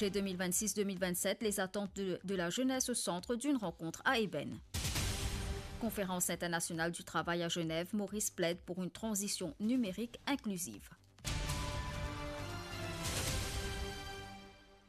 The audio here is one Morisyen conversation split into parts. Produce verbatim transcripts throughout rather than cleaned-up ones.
Budget deux mille vingt-six deux mille vingt-sept, les attentes de, de la jeunesse au centre d'une rencontre à Ébène. Conférence internationale du travail à Genève, Maurice plaide pour une transition numérique inclusive.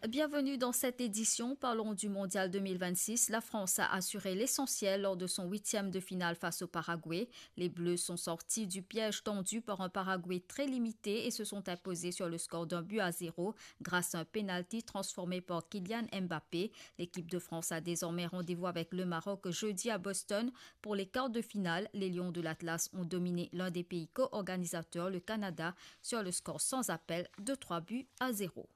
Bienvenue dans cette édition. Parlons du Mondial deux mille vingt-six. La France a assuré l'essentiel lors de son huitième de finale face au Paraguay. Les Bleus sont sortis du piège tendu par un Paraguay très limité et se sont imposés sur le score d'un but à zéro grâce à un penalty transformé par Kylian Mbappé. L'équipe de France a désormais rendez-vous avec le Maroc jeudi à Boston pour les quarts de finale. Les Lions de l'Atlas ont dominé l'un des pays co-organisateurs, le Canada, sur le score sans appel de trois buts à zéro.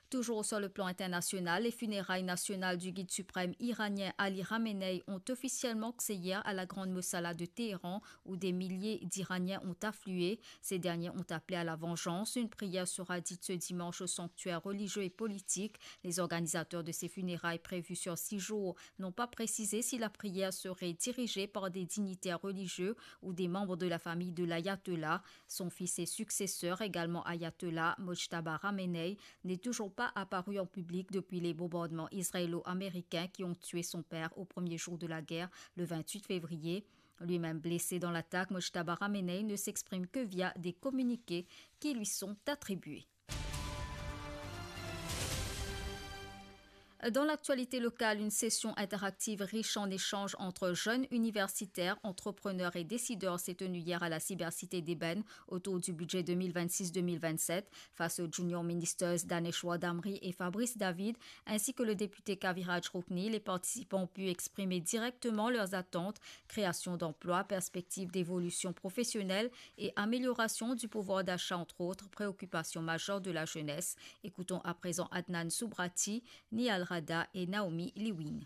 Toujours sur le plan international, les funérailles nationales du guide suprême iranien Ali Khamenei ont officiellement commencé hier à la Grande Mosala de Téhéran, où des milliers d'Iraniens ont afflué. Ces derniers ont appelé à la vengeance. Une prière sera dite ce dimanche au sanctuaire religieux et politique. Les organisateurs de ces funérailles prévues sur six jours n'ont pas précisé si la prière serait dirigée par des dignitaires religieux ou des membres de la famille de l'ayatollah. Son fils et successeur, également ayatollah, Mojtaba Khamenei, n'est toujours pas apparu en public depuis les bombardements israélo-américains qui ont tué son père au premier jour de la guerre, le vingt-huit février. Lui-même blessé dans l'attaque, Mojtaba Khamenei ne s'exprime que via des communiqués qui lui sont attribués. Dans l'actualité locale, une session interactive riche en échanges entre jeunes universitaires, entrepreneurs et décideurs s'est tenue hier à la cybercité d'Ébène autour du budget deux mille vingt-six deux mille vingt-sept. Face aux junior ministers Daneshwar Damri et Fabrice David, ainsi que le député Kaviraj Rukni, les participants ont pu exprimer directement leurs attentes, création d'emplois, perspectives d'évolution professionnelle et amélioration du pouvoir d'achat, entre autres préoccupations majeures de la jeunesse. Écoutons à présent Adnan Subrati, Nihal Radha et Naomi Lewin.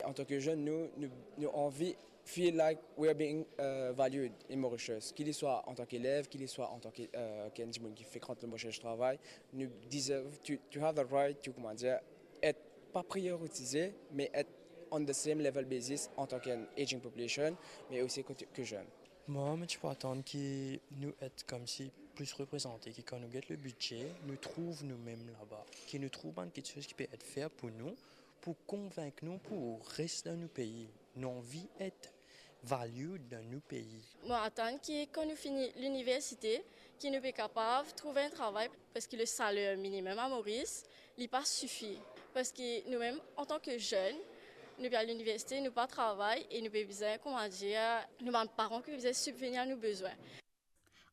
Antan ki zenn, nou, nou, nou anvi feel like we are being, uh, valued in Mauritius. Ki li swa antan ki elev, ki li swa antan ki, uh, ki enn dimoun ki frekant le marse travay, nou deserve to, to have the right to, kouma dir, et pa prioritize, me et on the same level basis antan ki enn aging population, me osi kot, ki zenn. Mwa, mo ti pou atann ki nou et koumsi plis reprezante, ki kan nou get le bidze, nou trouv noumem laba, ki nou trouv bann kiksoz ki pe et fer pou nou, pou konvink nou pou res dan nou pei. Nou anvi et valued dan nou pei. Mo atann ki kan nou fini liniversite, ki nou pe kapav trouv enn travay, parski le saler minimem a Moris, li pa sifi. Parski noumem, antan ki zenn, nou pe al liniversite, nou pa travay e nou pe bizin, kouma dir, nou bann paran ki bizin sibvenir nou bezwin.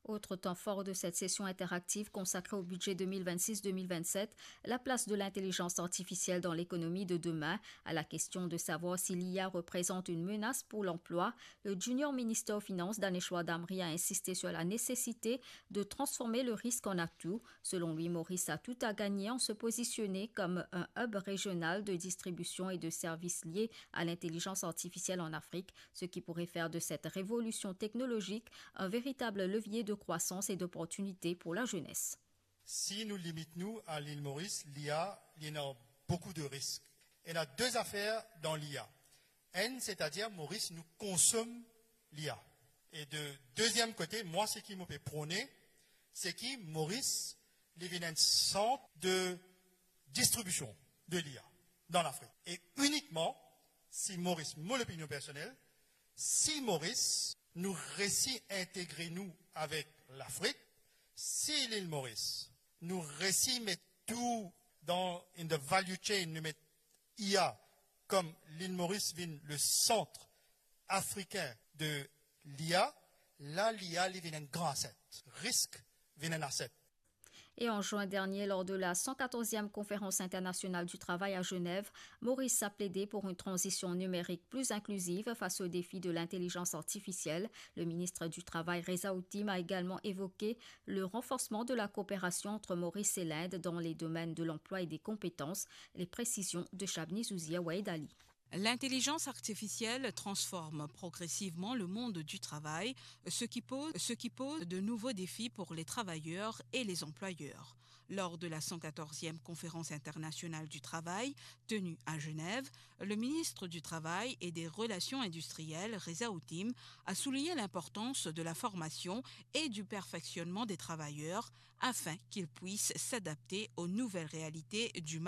Autre temps fort de cette session interactive consacrée au budget deux mille vingt-six deux mille vingt-sept, la place de l'intelligence artificielle dans l'économie de demain. À la question de savoir si l'I A représente une menace pour l'emploi, le junior ministre aux Finances, Daneshwar Damri, a insisté sur la nécessité de transformer le risque en atout. Selon lui, Maurice a tout à gagner en se positionner comme un hub régional de distribution et de services liés à l'intelligence artificielle en Afrique, ce qui pourrait faire de cette révolution technologique un véritable levier de croissance et d'opportunité pour la jeunesse. Si nou limit nou a Lil Moris, l'I A, li ena boukou de risk. Ena de zafer dan l'I A. Enn, setadir Moris, nou konsom l'I A. E de deziem kote, mwa, seki mo pe prone, seki Moris, li vinn enn sant de distribision de l'I A dan Lafrik. E inikman si Moris, mo lopinion personel, si Moris, nou resi integre nou avek Lafrik, si Lil Moris, nou resi met tou dan, in the value chain, nou met I A kom Lil Moris vinn le sant afrikin de l'I A, la l'I A li vinn enn gran asset. Risk vinn enn asset. Et en juin dernier, lors de la cent quatorzième conférence internationale du travail à Genève, Maurice a plaidé pour une transition numérique plus inclusive face aux défis de l'intelligence artificielle. Le ministre du Travail, Reza Ottim, a également évoqué le renforcement de la coopération entre Maurice et l'Inde dans les domaines de l'emploi et des compétences. Les précisions de Shabni Zouzia Wahed Ali. L'intelligence artificielle transforme progressivement le monde du travail, ce qui pose, ce qui pose de nouveaux défis pour les travailleurs et les employeurs. Lors de la cent quatorzième Conférence internationale du travail tenue à Genève, le ministre du Travail et des Relations industrielles, Reza Hotim, a souligné l'importance de la formation et du perfectionnement des travailleurs afin qu'ils puissent s'adapter aux nouvelles réalités du marché